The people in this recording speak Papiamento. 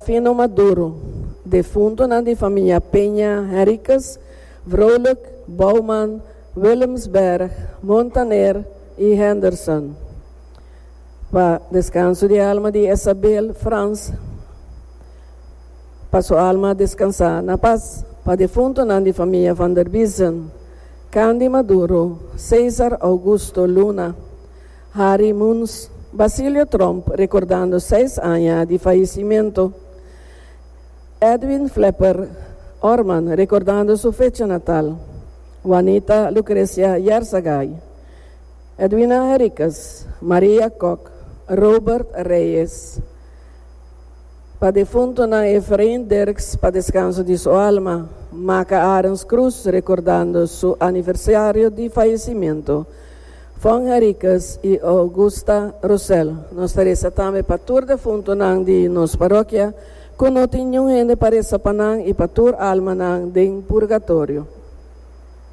Fino Maduro, defuntonan di famia Peña Henriquez, Vrolijk, Bouwman, Willemsberg, Montaner y Henderson. Pa descanso di alma di Esabel Frans, pa su alma descansa na paz. Pa defuntonan di famia Van der Biezen, Candy Maduro, Cesar Augusto Luna, Harry Muns, Basilio Tromp recordando seis aña di fayecimento, Edwin Flepper Orman recordando su fecha natal, Juanita Lucrecia Yarzagay, Edwina Henriquez, Maria Kok, Robert Reyes. Pa defuntonan Efrain Dirks pa descanso di su alma, Maca Arends Cruz recordando su aniversario di fayecimento, Fon Henriquez y Augusta Rosell. Nos ta reza tambe pa tur defuntonan di nos parokia cu no tin niun hende pa reza pa nan y pa tur almanan den purgatorio.